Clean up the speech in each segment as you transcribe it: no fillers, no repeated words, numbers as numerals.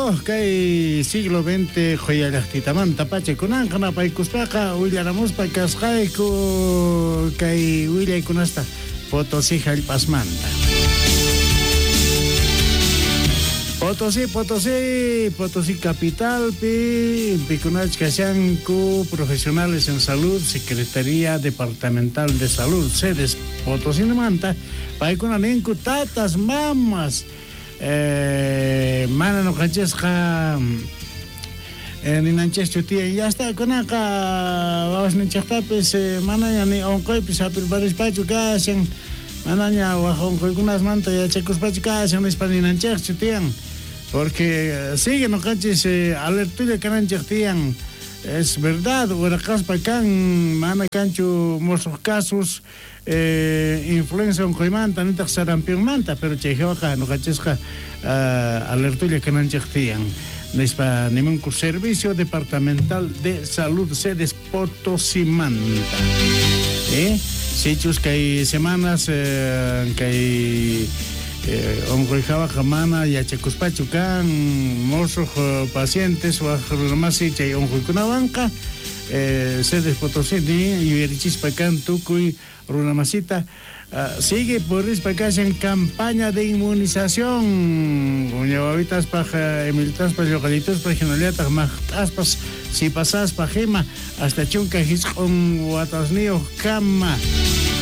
Kayku kay siglo XX qhoya llajtitamanta pacha kunanqa napaykuspaqa willaramuspa kasqayku kay willaykunasta Potosí jallp'asmanta. Potosí, Potosí, Potosí capitalpi, pikunach kashanku, profesionales en salud, Secretaría Departamental de Salud, sedes Potosí manta, paykuna ninku tatas, mamas, mana noqanchisqa ninanchischu tiyan, ya está kunaqa wawasninchejtapis manaña ni onqoypis hap'irparispachu kashan, manaña waj onqoykunasmanta yachakuspachu kashan nispa ninanchejchu tiyan, porque sigue noqanchis alertulla kananchej tiyan. Es verdad, uraqaspa kan, mana kanchu mosuq casos influenza onqoymanta nitaq sarampionmanta, pero chay hawaqa noqanchisqa alertulla kananchej tiyan nispa nimunku Servicio Departamental de Salud sedes Potosimanta. Sichus kay semanas kay onqoy hawaqa mana yachakuspachu kan mosuq pacientes waj runamasi chay onqoykunawanqa, sedes Potosí ni yuyarichispa kan tukuy runamasita, sigue purispa kashan campaña de inmunización uña wawitaspaj, emilitaspaj, lloqallituspaj, hinallataq maqt'aspas, sipasaspaj ima hasta 19 watasniyuq kama.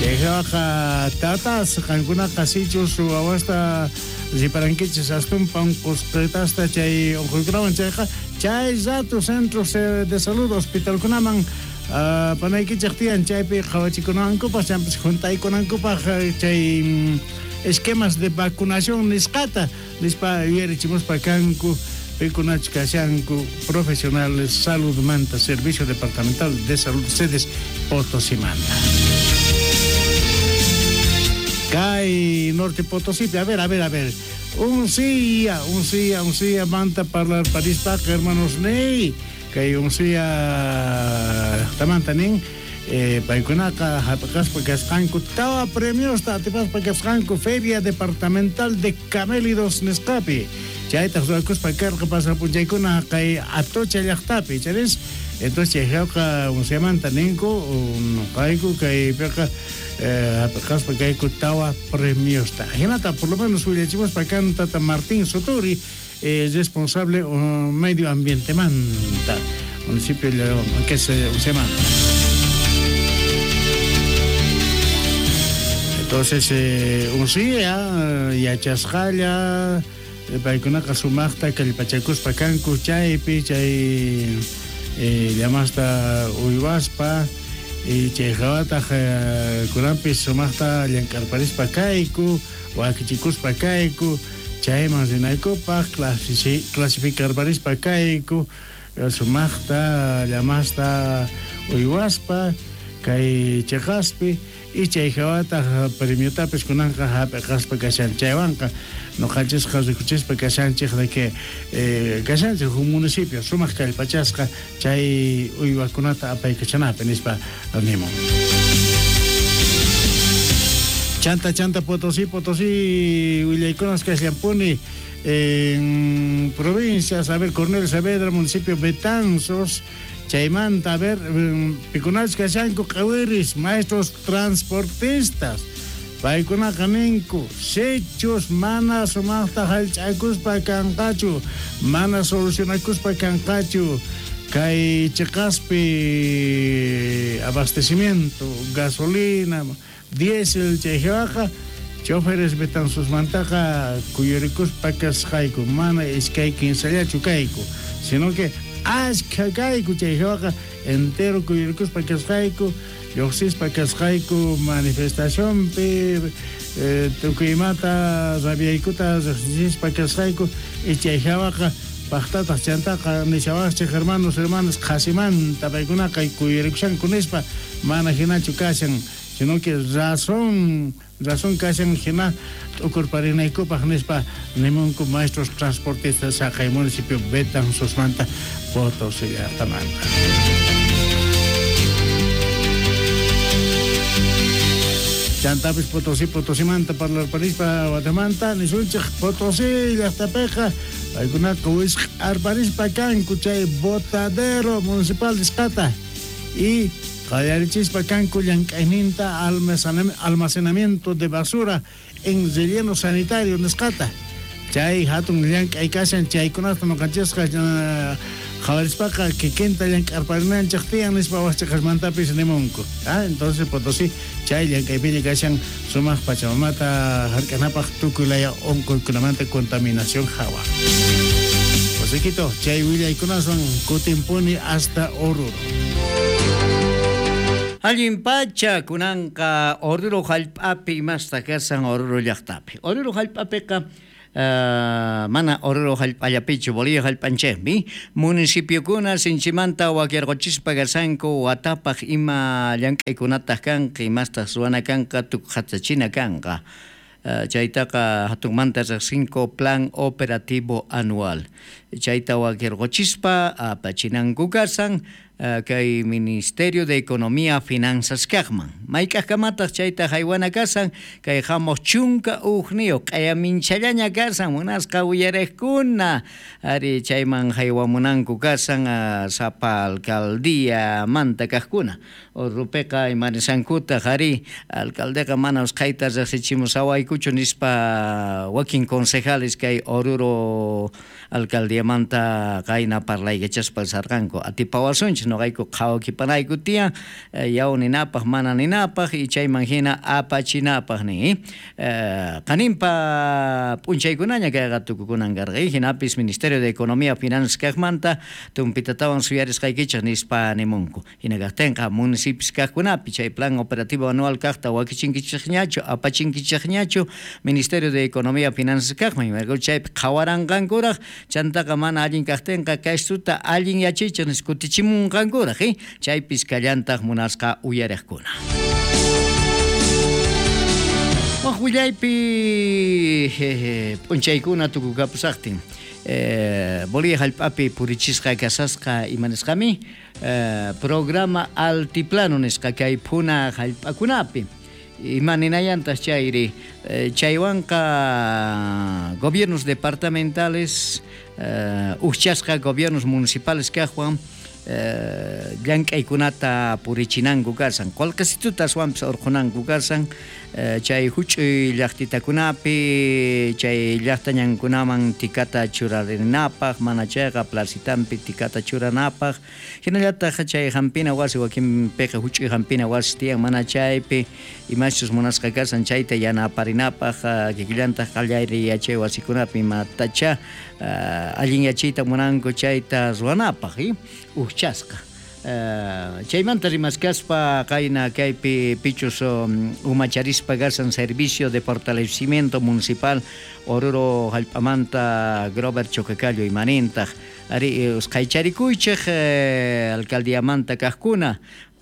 Chay hawaqa tatas qankunaqa sichus wawasta riparankichis astumpa onqosqitasta chay onqoykunawan chayqa, chay rato centros de salud hospitalkunaman panaykichej tiyan, chaypi qhawachikunankupaj, chaypis juntaykunankupaj chay esquemas de vacunación nisqata nispa yuyarichimuspa kanku pikunach kashanku profesionales saludmanta, Servicio Departamental de Salud sedes Potosimanta. Kay Norte Potosí, a ver, a ver, a ver. Uncía, uncía, uncía, manta parlar parispaqa, hermanos ney. Kay uncía tamanta nin, paykunaqa hap'aspa kasqanku tawa premiosta atipaspa kasqanku Feria Departamental de Camélidos nisqapi. Chaytaq ruwakuspa karqa pasaq p'unchaykuna kay Atocha llaqtapi, charis. Entonces chay hawqa unciamanta ninku noqayku kaypiqa hap'aspa kayku tawa premiosta. Hinata por lo menos willachimuspa kan tata Martín Soturi, responsable medio ambiente manta, municipio que se manta. Entonces, uncía, yachasqalla, paykunaqa sumaqta kallpachakuspa kanku chaypi, chay llamasta uywaspa, y chay hawataq kunanpis sumaqta llank'arparispa kayku, wakichikuspa kayku, chayman rinaykupaq clasificarparispa kayku, sumaqta llamasta uywaspa kay cheqaspi, y chay hawataq premiotapis kunanqa hap'iqaspa kashan. Chaywanqa noqanchisqa rikuchispa kashanchej de que kashanchej huk municipio sumaq kallpachasqa chay uywakunata apaykachanapi nispa nimun. Chanta, chanta, Potosí, Potosí, willaykunas kasllampuni en provincias, a ver, Cornelio Saavedra, municipio Betanzos, chaymanta, a ver, pikunach kashanku q'awiris, maestros transportistas, paykunaqa ninku, sichus mana sumaqta hallch'akuspa kanqachu, mana solucionakuspa kanqachu, kay cheqaspi abastecimiento, gasolina, diésel chay hawaqa, choferes Betanzosmantaqa kuyurikuspa kasqayku, mana iskay kinsallachu kayku, sino que ashkha kayku chay hawaqa entero kuyurikuspa kasqayku, lluqsispa kasqayku manifestacionpi, tukuymata rabiaykuta riqsichispa kasqayku, y chay hawaqa paqtataq chantaqa nishawaqchik hermanos, hermanas, qhasimanta paykunaqa kuyurikushanku nispa, mana hinachu kashan, sino que razón, razón kashan hina t'ukurparinaykupaq nispa nimunku maestros transportistas saqay municipio Betanzosmanta Potosí llaqtamanta. Chantapis Potosí, Potosimanta parlarparispa Guatemanta nisunchik Potosí llaqtapiqa Paykunaqa wisq'arparispa kanku chay botadero municipal nisqata y qallarichispa kanku llank'ayninta almacenamiento de basura en relleno sanitario nisqata. Chay hatun llank'ay kashan chaykunata noqanchisqa qhawarispaqa kikinta llank'arparinanchej tiyan nispa wajchaqasmantapis nimunku. Entonces Potosí chay llank'aypiña kashan sumaq pachamamata hark'anapaq tukuy laya unquykunamanta contaminación hawa. Josequito, chay willaykunaswan kutinpuni hasta Oruro. Allin pacha kunanqa Oruro hallp'api imasta kashan Oruro llaqtapi. Oruro hallp'apiqa mana Oruro hallp'allapichu Bolivia hallp'anchikmi municipiokuna sinchimanta wakirquchispa kashanku watapaq ima llank'aykunataq kanqa imastaq ruwana kanqa tukuqachachina kanqa. Chaytaqa hatunmanta riqsinku plan operativo anual. Chayta wakirquchispa apachinanku kasan kay Ministerio de Economía Finanzas kaqman. Mayk'aqkamataq chayta haywana kasan kay hamuq 11 q'ayaminchallaña kasan munasqa uyariqkuna ari chayman haywamunanku kasan sapa alcaldía manta kaqkuna. Orupiqa imanisankutaq ari alcaldeqa mana usqhayta riqsichimusawaykuchu nispa wakin concejales kay Oruro alcaldiamanta qayna parlaykachaspa sarqanku atipawasunchis noqayku qhawakipanayku tiyan yaw ninapaq mana ninapaq y chayman hina apachinapaq nin qaninpa p'unchaykunaña kayqa tukukunan karqa hinapis Ministerio de Economía Finanzas kaqmanta tumpitatawan suyarisqaykichik nispa nimunku hina kaqtinqa municipios kaqkunapi chay plan operativo anual kaqta wakichinkichikñachu apachinkichikñachu Ministerio de Economía Finanzas kaqman imarayku chaypi qhawaranqankuraq chantaqa mana allin kaqtinqa kaystuta allin yachichik nispa kutichimunqankuraq chaypis kallantaq munasqa uyariqkuna. Waq willaypi p'unchaykuna tukukapusaqtin Bolivia hallp'api purichisqa kasasqa imanisqami programa altiplano nisqa kay phuna hallp'akunapi ima ninayantaq chayri chaywanqa gobiernos departamentales ujchasqa gobiernos municipales kaqwan llank'aykunata purichinanku kasan qullqisituta aswanpis urqunanku kasan chay huch'uy llaqtitakunapi chay llaqtañankunaman tikata churarinapaq mana chayqa placitampi tikata churanapaq hinallataq chay hampina wasi wakinpiqa huch'uy hampina wasi tiyan mana chaypi imachus munasqa kasan chayta yanaparinapaq kikillantaq qallari yachay wasikunapi imatacha allin yachayta munanku chayta ruwanapaq ujchasqa. Chaymanta rimaskaspa qayna kaypi pichus umacharispa kasan Servicio de Fortalecimiento Municipal Oruro hallp'amanta Grover Chocacallo imanintaq ari usqhaycharikuychik alcaldiamanta kaqkuna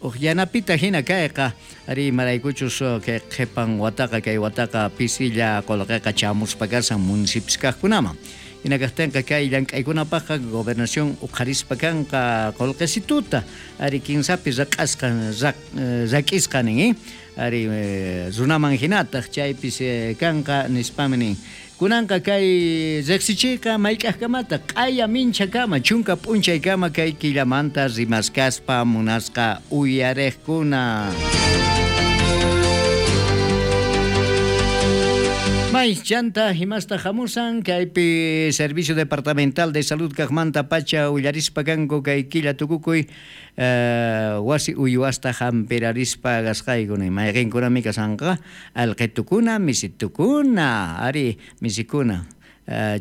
uq yanapita hina kayqa ari imaraykuchus kay qhipan wataqa kay wataqa pisilla qullqiqa chamuspa kasan municipios kaqkunaman. Hina kaqtinqa kay llank'aykunapaqqa gobernación uqharispa kanqa qullqisituta ari kinsapi raq'asqa rak'isqa nin ari runaman hinataq chaypis kanqa nispami nin. Kunanqa kay riqsichiyqa mayk'aqkamata q'aya minchakama 10 p'unchaykama kay killamanta rimaskaspa munasqa uyariqkuna. May chanta himasta hamusan kaypi Servicio Departamental de Salud kaqmanta pacha ullarispa kanku kay killa tukukuy wasi uywasta hampirarispa gasqayku mayqinkunami kasanqa alqitukuna misitukuna ari misikuna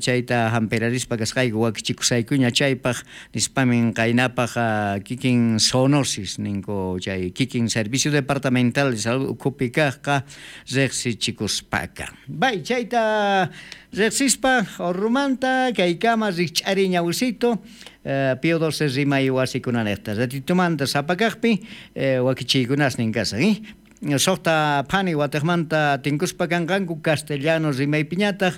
chayta hampirarispa kasqayku wakichikusaykuña chaypaq nispamin qaynapaq kikin zoonosis ninku chay kikin Servicio Departamental de Salud ukhupi kaqqa riqsichikuspaka. Bay chayta riqsispa Orrumanta kaykama rikch'ari ñawsito Pío XII rimay wasikunanejta ratitumanta sapakaqpi wakichiykunasnin kasan Soqta phani wataqmanta tinkuspa kanqanku castellano rimaypiñataq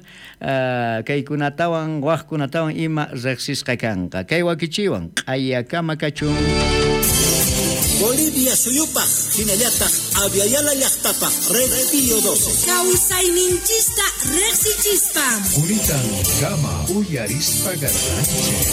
kaykunatawan waqkunatawan ima riqsisqa kanqa kay wakichiwan q'ayakama kachun. Bolivia suyupaj jinallataj Aviala llajtapaj Red Pío 12. Kawsayninchista riqsichispa. Kunitan kama uyarispa garranchik.